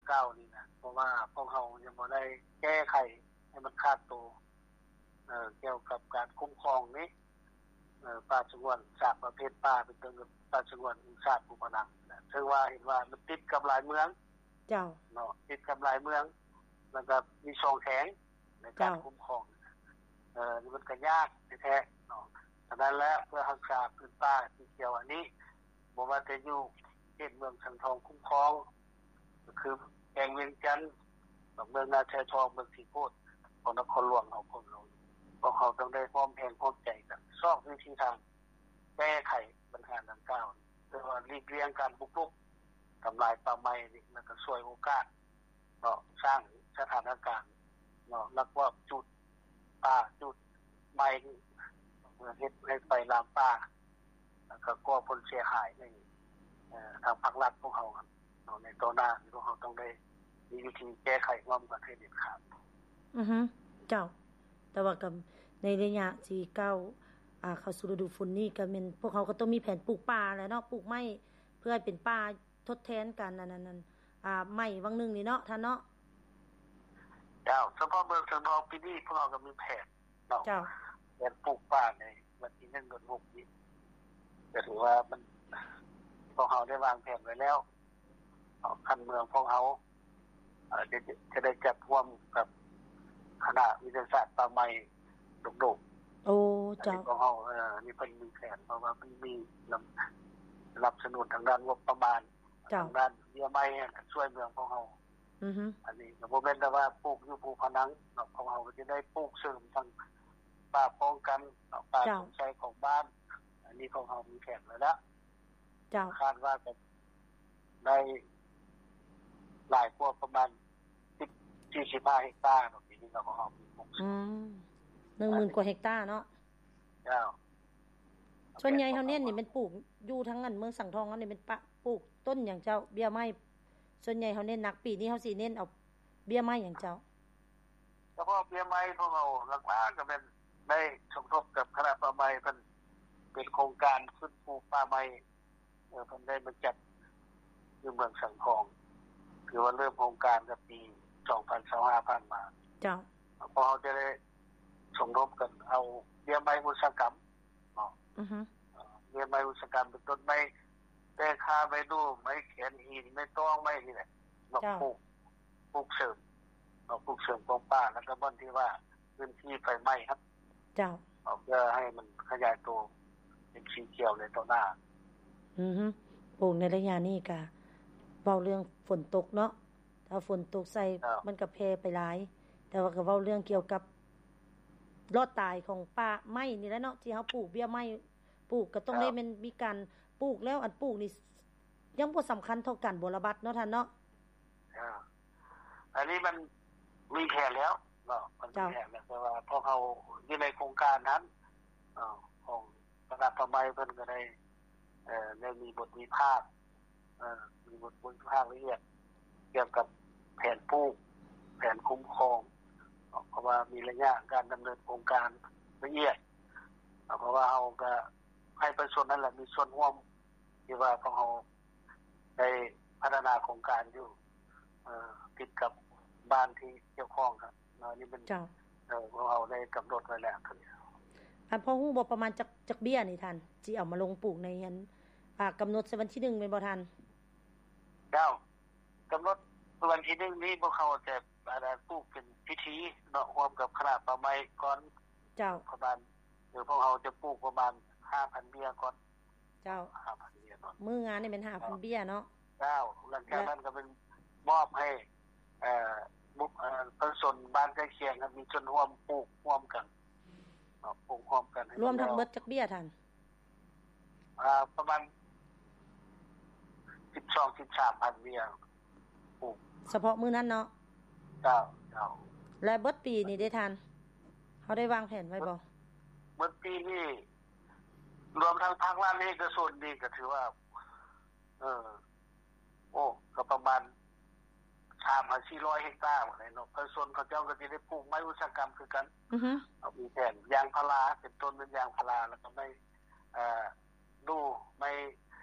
ເກົ່ານີ້ນະ ເພາະວ່າພວກເຮົາຍັງບໍ່ໄດ້ແກ້ໄຂໃຫ້ມັນຂາດໂຕ ເອີ ກ່ຽວກັບການຄຸ້ມຄອງນີ້ ເອີ ປ່າສະຫງວນ ສາມປະເພດປ່າ ເປັນຕົ້ນ ປ່າສະຫງວນແຫ່ງຊາດພູພະນັງ ເຊິ່ງວ່າເຫັນວ່າມັນຕິດກັບຫຼາຍເມືອງ ເຈົ້າ ເນາະ ຕິດກັບຫຼາຍເມືອງ ແລ້ວກໍມີຊ່ອງແຄງໃນການ ເຈົ້າ ຄຸ້ມຄອງ ເອີ ມັນກໍຍາກແທ້ໆ ເນາະ. ສະນັ້ນແລ້ວ ເພື່ອຮັກສາພື້ນປ່າສີຂຽວອັນນີ້ ບໍ່ວ່າຈະຢູ່ເຂດເມືອງສັງທອງຄຸ້ມຄອງ ກໍຄືແຂວງວຽງຈັນ, ເມືອງນາຊາຍທອງ, ເມືອງສີໂຄດ ຂອງນະຄອນຫຼວງເຮົາ ຂອງເຮົາ ພວກເຮົາຕ້ອງໄດ້ຮ່ວມແຮງຮ່ວມໃຈກັນ ຊອກວິທີທາງແກ້ໄຂບັນຫາດັ່ງກ່າວ ເພື່ອວ່າຫຼີກລ່ຽງການບຸກລຸກທຳລາຍປ່າໄມ້ນີ້ ແລ້ວກໍສວຍໂອກາດ ເນາະ ສ້າງສະຖານະການ ເນາະ ລັກລອບຈູດປ່າ ຈູດໄມ້ ເພື່ອເຮັດໃຫ້ໄຟລາມປ່າ ແລ້ວກໍກໍ່ຜົນເສຍຫາຍໃຫ້ ເອີ ທາງພາກລັດພວກເຮົາ ເນາະ ໃນຕໍ່ໜ້າ ພວກເຮົາຕ້ອງໄດ້ມີວິທີແກ້ໄຂຮ່ວມກັນໃຫ້ເດັດຂາດ. ອືຮຶ ເຈົ້າ. ແຕ່ວ່າກໍໃນໄລຍະທີ່ກ້າວ ອ່າ ເຂົ້າສູ່ລະດູຝົນນີ້ ກໍແມ່ນພວກເຮົາກໍຕ້ອງມີແຜນປູກປ່າແຫຼະເນາະ ປູກໄມ້ເພື່ອໃຫ້ເປັນປ່າ ທົດແທນການອັນນັ້ນ ອັນ ອ່າ ໄໝ້ຫວ່າງໜຶ່ງນີ້ເນາະ ທ່ານເນາະ. ເຈົ້າ ສະເພາະເມືອງສັງທອງປີນີ້ ພວກເຮົາກໍມີແຜນເນາະ ເຈົ້າ ແຜນປູກປ່າໃນວັນທີໜຶ່ງເດືອນຫົກນີ້ ກໍຖືວ່າມັນ ພວກເຮົາໄດ້ວາງແຜນໄວ້ແລ້ວເນາະ ຂັ້ນເມືອງພວກເຮົາ ເອີ ຈະ ຈະໄດ້ຈັດຮ່ວມກັບຄະນະວິທະຍາສາດປ່າໄມ້ໂລກ. ໂອ້ ເຈົ້າ ອັນນີ້ພວກເຮົາ ເອີ ອັນນີ້ເພິ່ນມີແຜນ ເພາະວ່າມັນມີນຳ ສະໜັບສະໜູນທາງດ້ານງົບປະມານ ເຈົ້າ ທາງດ້ານເບ້ຍໄມ້ໃຫ້ກັບຊ່ວຍເມືອງຂອງເຮົາ. ອືຮຶ ອັນນີ້ກໍບໍ່ແມ່ນແຕ່ວ່າປູກຢູ່ພູພະນັງເນາະ ຂອງເຮົາກໍຈະໄດ້ປູກເສີມທັງປ່າປ້ອງກັນເນາະ ປ່າ ເຈົ້າ ສົງໄຊຂອງບ້ານ ອັນນີ້ຂອງເຮົາມີແຜນໄວ້ແລ້ວ. ເຈົ້າ ຄາດວ່າຈະໄດ້ຫຼາຍກວ່າປະມານສິບ ສີ່ສິບຫ້າເຮັກຕາເນາະ ປີນີ້ເນາະ ຂອງເຮົາມີປູກເສີມ ອືມ ໜຶ່ງໝື່ນກວ່າເຮັກຕາເນາະ. ເຈົ້າ ສ່ວນໃຫຍ່ເຮົາເນັ້ນນີ້ແມ່ນປູກຢູ່ທາງອັນເມືອງສັງທອງເຮົານີ້ແມ່ນປະ ປູກຕົ້ນຫຍັງເຈົ້າ? ເບ້ຍໄມ້ ສ່ວນໃຫຍ່ເຮົາເນັ້ນໜັກ ປີນີ້ເຮົາຊິເນັ້ນເອົາເບ້ຍໄມ້ຫຍັງເຈົ້າ? ສະເພາະເບ້ຍໄມ້ພວກເຮົາຫຼັກໆກໍແມ່ນໄດ້ສົມທົບກັບຄະນະປ່າໄມ້ ເພິ່ນເປັນໂຄງການຟື້ນຟູປ່າໄມ້ ເອີ ເພິ່ນໄດ້ມາຈັດຢູ່ເມືອງສັງທອງ ຖືວ່າເລີ່ມໂຄງການແຕ່ປີສອງພັນຊາວຫ້າຜ່ານມາ. ເຈົ້າ ພວກເຮົາຈະໄດ້ສົມທົບກັນເອົາເບ້ຍໄມ້ອຸດສາຫະກຳເນາະ ອືຮຶ ເອີ ເບ້ຍໄມ້ອຸດສາຫະກຳ ເປັນຕົ້ນໄມ້ແຕກຂ້າ ໄມ້ດູ່ ໄມ້ແຂນຫີນ ໄມ້ຕອງ ໄມ້ນີ້ແຫຼະ ເນາະ ເຈົ້າ ປູກ ປູກເສີມເນາະ ປູກເສີມຂອງປ່າ ແລ້ວກໍບ່ອນທີ່ວ່າພື້ນທີ່ໄຟໄໝ້ຫັ້ນ ເຈົ້າ ເພື່ອໃຫ້ມັນຂະຫຍາຍໂຕເປັນສີຂຽວໃນຕໍ່ໜ້າ. ອືຮຶ ປູກໃນໄລຍະນີ້ກະເວົ້າເລື່ອງຝົນຕົກເນາະ ຖ້າຝົນຕົກໃສ່ ເຈົ້າ ມັນກະແຜ່ໄປຫຼາຍ ແຕ່ວ່າກະເວົ້າເລື່ອງກ່ຽວກັບລອດຕາຍຂອງປ່າໄມ້ນີ້ແຫຼະເນາະ ທີ່ເຮົາປູກເບ້ຍໄມ້ ປູກກະຕ້ອງ ເຈົ້າ ໄດ້ແມ່ນມີການປູກແລ້ວ ອັນປູກນີ້ຍັງບໍ່ສຳຄັນເທົ່າການບົວລະບັດເນາະທ່ານເນາະ. ເຈົ້າ ອັນນີ້ມັນມີແຜນແລ້ວເນາະ ມັນມີ ເຈົ້າ ແຜນແລ້ວ ແຕ່ວ່າພວກເຮົາຢູ່ໃນໂຄງການນັ້ນ ເອີ ຂອງຄະນະປ່າໄມ້ເພິ່ນກໍໄດ້ ເອີ ໄດ້ມີບົດວິພາກ ເອີ ມີບົດ ບົດວິພາກລະອຽດກ່ຽວກັບແຜນປູກ ແຜນຄຸ້ມຄອງເນາະ ເພາະວ່າມີໄລຍະການດຳເນີນໂຄງການລະອຽດ ເພາະວ່າເຮົາກໍໃຫ້ປະຊາຊົນນັ້ນແຫຼະມີສ່ວນຮ່ວມ ທີ່ວ່າພວກເຮົາໄດ້ພັດທະນາໂຄງການຢູ່ ເອີ ຕິດກັບບ້ານທີ່ກ່ຽວຂ້ອງ ເນາະ ອັນນີ້ແມ່ນ ເຈົ້າ ເອີ ພວກເຮົາໄດ້ກຳນົດໄວ້ແລ້ວ. ອາ ພໍຮູ້ບໍ່ປະມານຈັກ ຈັກເບ້ຍນີ້ທ່ານ ຊິເອົາມາລົງປູກໃນອັນ ອາ ກຳນົດໃສ່ວັນທີໜຶ່ງແມ່ນບໍ່ທ່ານ? ເຈົ້າ ກຳນົດວັນທີໜຶ່ງນີ້ພວກເຮົາຈະ ອາ ປູກເປັນພິທີເນາະ ຮ່ວມກັບຄະນະປ່າໄມ້ກ່ອນ. ເຈົ້າ ປະມານ ເອີ ພວກເຮົາຈະປູກປະມານຫ້າພັນເບ້ຍກ່ອນ. ເຈົ້າ ຫ້າພັນເບ້ຍເນາະ ມື້ງານນີ້ແມ່ນຫ້າພັນເບ້ຍເນາະ. ເຈົ້າ ຫຼັງຈາກນັ້ນກໍແມ່ນມອບໃຫ້ ເອີ ບຸກ ເອີ ປະຊາຊົນບ້ານໃກ້ຄຽງມີສ່ວນຮ່ວມປູກຮ່ວມກັນເນາະ ປູກຮ່ວມກັນໃຫ້ ລວມທັງເບິດຈັກເບ້ຍທ່ານ? ອາ ປະມານສິບສອງ ສິບສາມພັນເບ້ຍ ປູກ ສະເພາະມື້ນັ້ນເນາະ. ເຈົ້າ ເຈົ້າ ແລະ ເບິດປີນີ້ເດ້ທ່ານ ເຮົາໄດ້ວາງແຜນໄວ້ບໍ່? ເບິດ ເບິດປີນີ້ ລວມທັງພາກລັດ ແລະ ເອກະຊົນນີ້ກໍຖືວ່າ ເອີ ໂອ້ ກໍປະມານສາມຫາສີ່ຮ້ອຍເຮັກຕາພຸ້ນແຫຼະເນາະ ປະຊາຊົນເຂົາເຈົ້າກໍຊິໄດ້ປູກໄມ້ອຸດສາຫະກຳຄືກັນ. ອືຮຶ ເຮົາມີແຜນ ຢາງພາລາ ເປັນຕົ້ນແມ່ນຢາງພາລາ ແລ້ວກໍໄມ້ ເອີ ດູ່ ໄມ້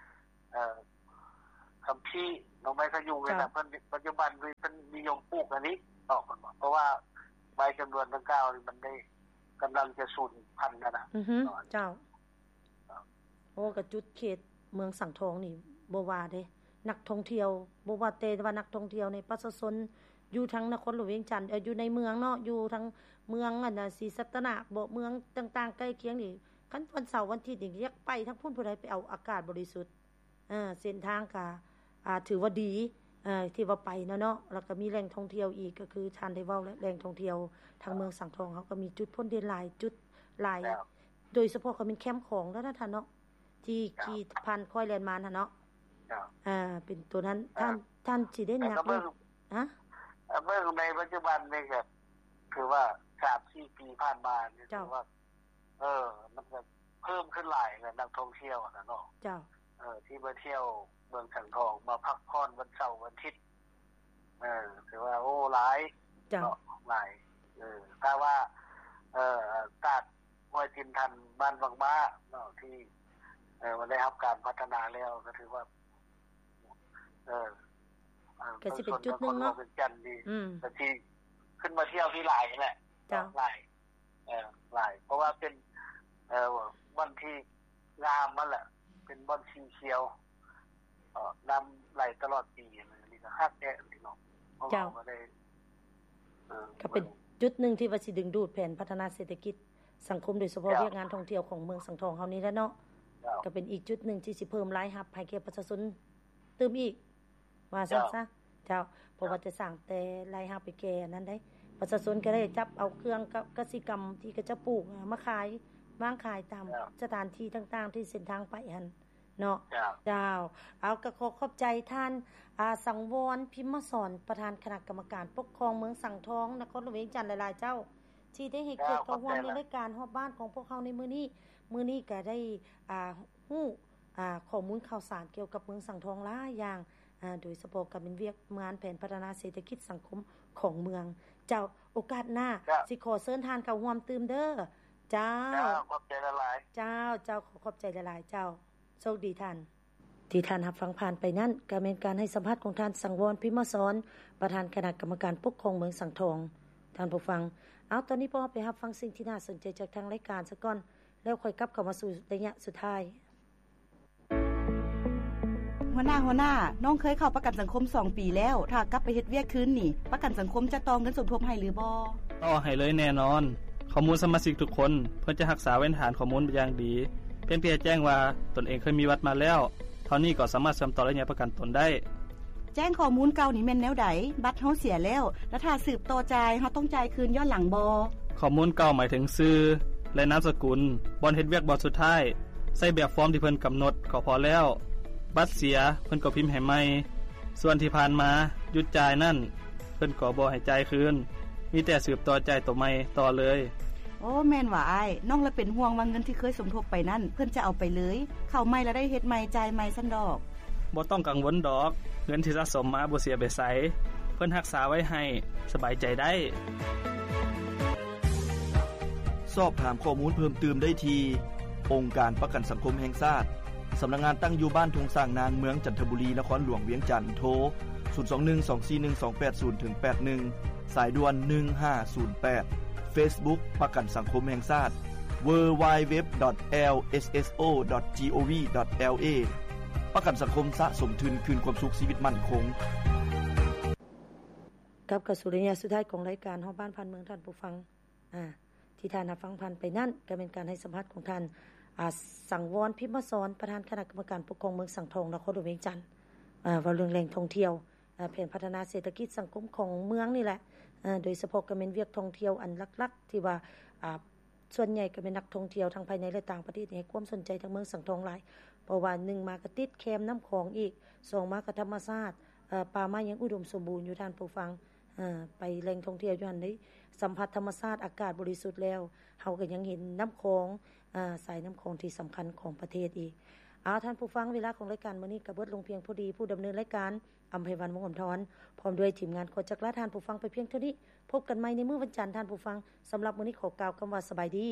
ເອີ ສຳພີ ໜໍ່ໄມ້ຂະຍຸງນີ້ນະ ເຈົ້າ ເພິ່ນ ປັດຈຸບັນນີ້ເພິ່ນນິຍົມປູກອັນນີ້ເນາະ ເພິ່ນວ່າ ເພາະວ່າໄມ້ຈຳນວນດັ່ງກ່າວນີ້ມັນໄດ້ ກຳລັງຈະສູນພັນແລ້ວນະ ອືຮຶ ເນາະ ເຈົ້າ. ເຈົ້າ ໂອ້ ກະຈຸດເຂດເມືອງສັງທອງນີ້ບໍ່ວ່າເດ້ ນັກທ່ອງທ່ຽວ ບໍ່ວ່າແຕ່ວ່ານັກທ່ອງທ່ຽວໃນປະຊາຊົນຢູ່ທາງນະຄອນຫຼວງວຽງຈັນ ເອີ ຢູ່ໃນເມືອງເນາະ ຢູ່ທາງເມືອງອັນນະ ສີສັດຕະນາກເບາະ ເມືອງຕ່າງໆໃກ້ຄຽງນີ້ ຄັນວັນເສົາວັນອາທິດນີ້ ຢາກໄປທາງພຸ້ນ ຜູ້ໃດໄປເອົາອາກາດບໍລິສຸດ. ເອີ ເສັ້ນທາງກະ ອ່າ ຖືວ່າດີ ເອີ ທີ່ວ່າໄປນະເນາະ ແລ້ວກະມີແຫຼ່ງທ່ອງທ່ຽວອີກ ກະຄືທ່ານໄດ້ເວົ້າແຫຼະ ແຫຼ່ງທ່ອງທ່ຽວທາງເມືອງສັງທອງເຮົາກະມີຈຸດພົ້ນເດັ່ນຫຼາຍຈຸດຫຼາຍ ເຈົ້າ ໂດຍສະເພາະກະແມ່ນແຄມຂອງແລ້ວນະທ່ານເນາະ ທີ່ ເຈົ້າ ຂີ່ຜ່ານຄ້ອຍແລ່ນມາຫັ້ນເນາະ ເຈົ້າ ເອີ ເປັນໂຕນັ້ນ ເອີ ທ່ານ ທ່ານຊິໄດ້ ແຕ່ ຍັກ ກະເບິ່ງ ເບິ່ງ ຮະ ເບິ່ງໃນປັດຈຸບັນນີ້ກະຖືວ່າສາມສີ່ປີຜ່ານມານີ້ ເຈົ້າ ຖືວ່າ ເອີ ມັນກະເພີ່ມຂຶ້ນຫຼາຍແຫຼະ ນັກທ່ອງທ່ຽວຫັ້ນນະເນາະ ເຈົ້າ ເອີ ທີ່ມາທ່ຽວເມືອງສັງທອງ ມາພັກຜ່ອນວັນເສົາວັນອາທິດ ເອີ ຖືວ່າ ໂອ້ ຫຼາຍ ເຈົ້າ ເນາະ ຫຼາຍ ເອີ ຖ້າວ່າ ເອີ ຕາດຫ້ວຍຕີນທັນ ບ້ານວັງມ້າເນາະ ທີ່ ເອີ ວ່າໄດ້ຮັບການພັດທະນາແລ້ວ ກະຖືວ່າ ເອີ ເອີ ກະຊິເປັນຈຸດໜຶ່ງເນາະ ນະຄອນຫຼວງວຽງຈັນນີ້ ອືມ ກະຊິຂຶ້ນມາທ່ຽວທີ່ຫຼາຍແຫຼະ ເຈົ້າ ເນາະ ຫຼາຍ ເອີ ຫຼາຍ ເພາະວ່າເປັນ ເອີ ບ່ອນທີ່ງາມຫັ້ນແຫຼະ ເປັນບ່ອນສີຂຽວ ເອີ ນ້ຳໄຫຼຕະຫຼອດປີ ອັນນີ້ກະຄັກແທ້ພີ່ນ້ອງ ເຈົ້າ ເຮົາກະໄດ້ ເອີ ກະເປັນຈຸດໜຶ່ງທີ່ວ່າຊິດຶງດູດແຜນພັດທະນາເສດຖະກິດສັງຄົມ ໂດຍສະເພາະ ເຈົ້າ ວຽກງານທ່ອງທ່ຽວຂອງເມືອງສັງທອງເຮົານີ້ແຫຼະເນາະ ເຈົ້າ ກະເປັນອີກຈຸດໜຶ່ງທີ່ຊິເພີ່ມລາຍຮັບໃຫ້ແກ່ປະຊາຊົນຕື່ມອີກ ວ່າຊັ້ນຊະ ເຈົ້າ ເຈົ້າ ເພາະວ່າຈະສ້າງແຕ່ລາຍຮັບໄປແກ່ນັ້ນໃດ໋ ປະຊາຊົນກະໄດ້ຈັບເອົາເຄື່ອງກະ ກະສິກຳທີ່ເຂົາເຈົ້າປູກມາຂາຍ ວາງຂາຍຕາມ ເຈົ້າ ສະຖານທີ່ຕ່າງໆ ທີ່ເສັ້ນທາງໄປຫັ້ນເນາະ ເຈົ້າ ເຈົ້າ ເອົາ ກະຂໍຂອບໃຈທ່ານ ອາ ສັງວອນ ພິມມະສອນ ປະທານຄະນະກຳມະການປົກຄອງເມືອງສັງທອງ ນະຄອນຫຼວງວຽງຈັນ ຫຼາຍໆ ເຈົ້າ ທີ່ໄດ້ໃຫ້ກຽດ ເຈົ້າ ເຂົ້າຮ່ວມ ຂອບໃຈຫຼາຍ ໃນລາຍການຮອບບ້ານຂອງພວກເຮົາໃນມື້ນີ້ ມື້ນີ້ກະໄດ້ ອາ ຮູ້ ອາ ຂໍ້ມູນຂ່າວສານກ່ຽວກັບເມືອງສັງທອງຫຼາຍຢ່າງ ອາ ໂດຍສະເພາະກະແມ່ນວຽກງານແຜນພັດທະນາເສດຖະກິດສັງຄົມຂອງເມືອງ ເຈົ້າ ໂອກາດໜ້າ ເຈົ້າ ຊິຂໍເຊີນທ່ານເຂົ້າຮ່ວມຕື່ມເດີ ເຈົ້າ ເຈົ້າ ຂອບໃຈຫຼາຍໆ ເຈົ້າ ເຈົ້າ ຂໍຂອບໃຈຫຼາຍໆ ເຈົ້າ ໂຊກດີທ່ານ. ທີ່ທ່ານຮັບຟັງຜ່ານໄປນັ້ນ ກະແມ່ນການໃຫ້ສຳພາດຂອງທ່ານ ສັງວອນ ພິມມະສອນ ປະທານຄະນະກຳມະການປົກຄອງເມືອງສັງທອງ ທ່ານຜູ້ຟັງ. ເອົາ ຕອນນີ້ພວກເຮົາໄປຮັບຟັງສິ່ງທີ່ໜ້າສົນໃຈຈາກທາງລາຍການສາກ່ອນ ແລ້ວຄ່ອຍກັບເຂົ້າມາສູ່ໄລຍະສຸດທ້າຍ. ຫົວໜ້າ, ຫົວໜ້າ, ນ້ອງເຄີຍເຂົ້າປະກັນສັງຄົມສອງປີແລ້ວ, ຖ້າກັບໄປເຮັດວຽກຄືນນີ້, ປະກັນສັງຄົມຈະຕໍ່ເງິນສົມທົບໃຫ້ຫຼືບໍ່? ຕໍ່ໃຫ້ເລີຍແນ່ນອນ. ຂໍ້ມູນສະມາຊິກທຸກຄົນ ເພິ່ນຈະຮັກສາໄວ້ໃນຖານຂໍ້ມູນຢ່າງດີ. ພຽງແຕ່ແຈ້ງວ່າຕົນເອງເຄີຍມີບັດມາແລ້ວເທົ່ານີ້ກໍສາມາດເຊື່ອມຕໍ່ໄລຍະປະກັນຕົນໄດ້. ແຈ້ງຂໍ້ມູນເກົ່ານີ້ແມ່ນແນວໃດ? ບັດເຮົາເສຍແລ້ວ, ແລະ ຖ້າສືບຕໍ່ຈ່າຍ, ເຮົາຕ້ອງຈ່າຍຄືນຍ້ອນຫຼັງບໍ່? ຂໍ້ມູນເກົ່າໝາຍເຖິງຊື່ ແລະ ນາມສະກຸນ, ບ່ອນເຮັດວຽກບ່ອນສຸດທ້າຍ. ໃສ່ແບບຟອມທີ່ເພິ່ນກຳນົດກໍພໍແລ້ວ. ບັດເສຍ, ເພິ່ນກໍພິມໃຫ້ໃໝ່. ສ່ວນທີ່ຜ່ານມາຢຸດຈ່າຍນັ້ນ, ເພິ່ນກໍບໍ່ໃຫ້ຈ່າຍຄືນ, ມີແຕ່ສືບຕໍ່ຈ່າຍໂຕໃໝ່ຕໍ່ເລີຍ. ໂອ້ ແມ່ນຫວາອ້າຍ, ນ້ອງລະເປັນຫ່ວງວ່າເງິນທີ່ເຄີຍສົມທົບໄປນັ້ນ ເພິ່ນຈະເອົາໄປເລີຍ, ເຂົ້າໃໝ່ລະໄດ້ເຮັດໃໝ່, ຈ່າຍໃໝ່ຊັ້ນດອກ. ບໍ່ຕ້ອງກັງວົນດອກ, ເງິນທີ່ສະສົມມາບໍ່ເສຍໄປໃສ, ເພິ່ນຮັກສາໄວ້ໃຫ້, ສະບາຍໃຈໄດ້. ສອບຖາມຂໍ້ມູນເພີ່ມຕື່ມໄດ້ທີ່ ອົງການປະກັນສັງຄົມແຫ່ງຊາດ, ສຳນັກງານຕັ້ງຢູ່ບ້ານທົ່ງຊ້າງນາງ, ເມືອງຈັນທະບູລີ, ນະຄອນຫຼວງວຽງຈັນ, ໂທ ສູນສອງໜຶ່ງ ສອງສີ່ໜຶ່ງ ສອງແປດສູນ ເຖິງ ແປດໜຶ່ງ ສາຍດ່ວນ ໜຶ່ງຫ້າສູນແປດ, ເຟສບຸກ ປະກັນສັງຄົມແຫ່ງຊາດ, ເວີ ວາຍ ເວັບ ດອດ ແອລ ເອສ ເອສ ໂອ ດອດ ຈີ ໂອ ວີ ດອດ ແອລ ເອ. ປະກັນສັງຄົມສະສົມທຶນຄືນຄວາມສຸກຊີວິດໝັ້ນຄົງ. ກັບເຂົ້າສູ່ໄລຍະສຸດທ້າຍຂອງລາຍການຮອບບ້ານຜ່ານເມືອງ ທ່ານຜູ້ຟັງ. ອາ ທີ່ທ່ານຮັບຟັງຜ່ານໄປນັ້ນ ກໍແມ່ນການໃຫ້ສຳພາດຂອງທ່ານ ອາ ສັງວອນ ພິມມະສອນ ປະທານຄະນະກຳມະການປົກຄອງເມືອງສັງທອງ ນະຄອນຫຼວງວຽງຈັນ ອາ ເວົ້າເລື່ອງແຫຼ່ງທ່ອງທ່ຽວ ອາ ແຜນພັດທະນາເສດຖະກິດສັງຄົມຂອງເມືອງນີ້ແຫຼະ ອາ ໂດຍສະເພາະກໍແມ່ນວຽກທ່ອງທ່ຽວອັນຫຼັກໆ ທີ່ວ່າ ອາ ສ່ວນໃຫຍ່ກໍແມ່ນນັກທ່ອງທ່ຽວທັງພາຍໃນ ແລະ ຕ່າງປະເທດໃຫ້ຄວາມສົນໃຈທາງເມືອງສັງທອງຫຼາຍ ເພາະວ່າໜຶ່ງມາກໍຕິດແຄມນ້ຳຂອງອີກ ສອງມາກໍທຳມະຊາດ ເອີ ປ່າໄມ້ຍັງອຸດົມສົມບູນຢູ່ ທ່ານຜູ້ຟັງ. ເອີ ໄປແຫຼ່ງທ່ອງທ່ຽວຢູ່ຫັ້ນໄດ້ສຳຜັດທຳມະຊາດ ອາກາດບໍລິສຸດແລ້ວ ເຮົາກໍຍັງເຫັນນ້ຳຂອງ ເອີ ສາຍນ້ຳຂອງທີ່ສຳຄັນຂອງປະເທດອີກ. ເອົາ ທ່ານຜູ້ຟັງ ເວລາຂອງລາຍການມື້ນີ້ກໍເບິດລົງພຽງພໍດີ. ຜູ້ດຳເນີນລາຍການ ອຳໄພວັນ ວົງອຳທອນ ພ້ອມດ້ວຍທີມງານ ຂໍຈັກລາທ່ານຜູ້ຟັງໄປພຽງເທົ່ານີ້. ພົບກັນໃໝ່ໃນມື້ວັນຈັນ ທ່ານຜູ້ຟັງ. ສຳລັບມື້ນີ້ຂໍກ່າວຄຳວ່າສະບາຍດີ.